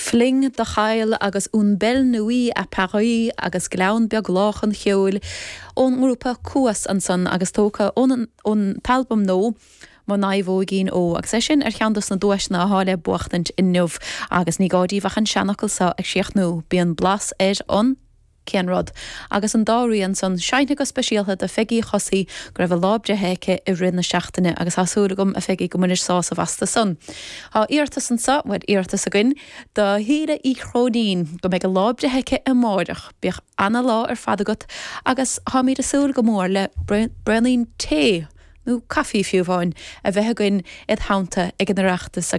Fling do Chaill agus Une Belle Nuit à Paris agus Gleann Beag Lách an Cheoil ón ngrúpa Cuas ansan agus tógtha ón ón t-albam nua Mo Naomhóigín Ó agus é sin ar cheann dos na duaiseanna athá le buachtaint inniu agus ní gá díbh ach an seanfhocal seo ag síochnú, bíonn blas ar an. Cén rud? Agus an dá rian san seinnte go speisialta do Pheigí Chosaí go raibh a lá breithe aici i rith na seachtaine agus tá súil agam, a Pheigí, go mbainis sásamh astu san. Tá iarratas anso, bhuel, iarratas againn, do Shíle Uí Chróinín go mbeidh a lá breithe aici amáireach. Bíodh ana-lá ar fad agat agus táimíd ag súil go mór le braonín tae, nó caife fiú amháin, a bheith againn id theannta ag an Oireachtas agus.